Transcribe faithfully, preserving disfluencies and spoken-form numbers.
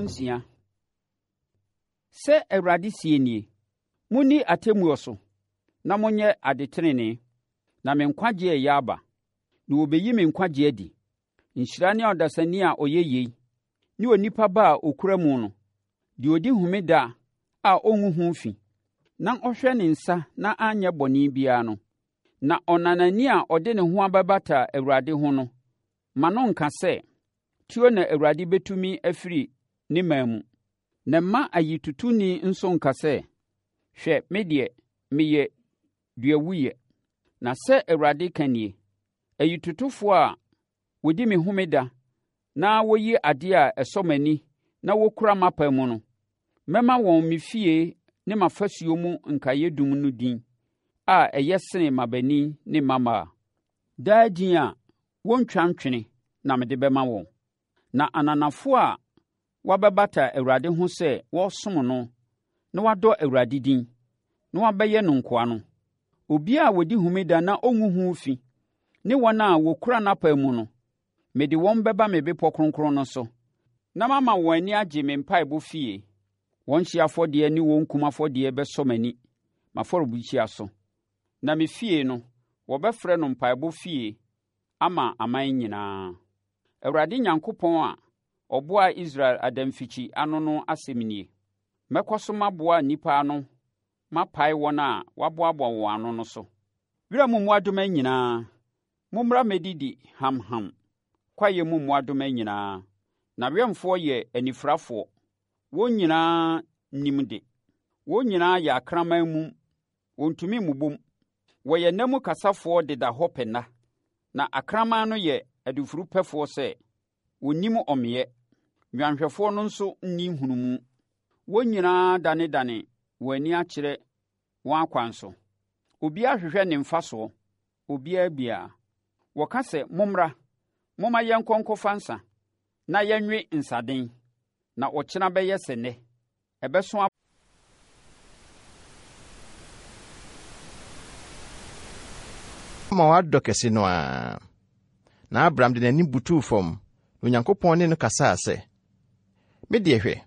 Nsia. Sɛ Awurade seɛ nie, Monni atemmuo so, na monyɛ adetenenee, na me nkwagyeɛ reyɛ aba, na wɔbɛyi me nkwagyeɛ adi. Nhyira ne ɔdasani a ɔyɛ yei, ne onipa ba a ɔkura mu no, deɛ ɔdi homeda a ɔngu ho fi, na ɔhwɛ ne nsa na anyɛ bɔne biara no. Na ɔnanani a ɔde ne ho abɛbata Awurade ho no, ma no nka sɛ, Tuo na Awurade bɛtu me afiri ne man mu. Na mma ayitotoni nso nka sɛ, Hwɛ, me deɛ, meyɛ duawuiɛ. Na sɛ Awurade ka nie, Ayitotofoɔ a wɔdi me homeda na wɔyi adeɛ a ɛsɔ m'ani na wɔkura m'apam mu no, mɛma wɔn me fie ne m'afasuo mu nkaeɛdum no din a ɛyɛ sene mmabanin ne mmammaa. Daa din a wɔrentwa ntwene na mede bɛma wɔn. Na ananafoɔ a wɔabɛbata Awurade ho sɛ wɔresom no na wɔadɔ Awurade din, na wɔabɛyɛ no nkoa no, obiara a ɔdi homeda na ɔngu ho fi ne wɔn a wɔkura n'apam mu no, mede wɔn bɛba me bepɔ kronkron no so, na mama wɔn ani agye me mpaebɔ fie. Wɔn hyeɛ afɔdeɛ ne wɔn kum afɔdeɛ bɛsɔ m'ani, m'afɔrebukyia so. Na me fie no, wɔbɛfrɛ no mpaebɔ fie ama aman nyinaa. Awurade Nyankopɔn a ɔboaa Israel adamfikyi ano no asɛm nie. Mɛkɔ so maboa nnipa ano mapae wɔn a wɔaboaboa wɔn ano no so. Wiram mmoadoma nyinaa, mommra mmɛdidi hamham, kwaeɛ mu mmoadoma nyinaa. N'awɛmfoɔ yɛ anifirafoɔ, wɔn nyinaa nnim de. Wɔn nyinaa yɛ akraman mum, wɔntumi mmobom. Wɔyɛ nna mu kasafoɔ deda hɔ pɛ nna, na akraman no yɛ adufudepɛfoɔ sɛ wɔnnim ɔmeeɛ. Nnwanhwɛfoɔ no nso nni nhunumu. Wɔn nyinaa danedane wɔn ani akyerɛ wɔn akwan so. Obiara hwehwɛ ne mfasoɔ, obiara biara. Wɔka sɛ, Mommra, momma yɛnkɔ nkɔfa nsa, na yɛnwe nsaden, na ɔkyena bɛyɛ sɛ nnɛ, ɛbɛso Ma wadɔ kɛse no ara. Na Abram de n'anim butuu fam, na Onyankopɔn ne no kasaa sɛ, Me deɛ hwɛ,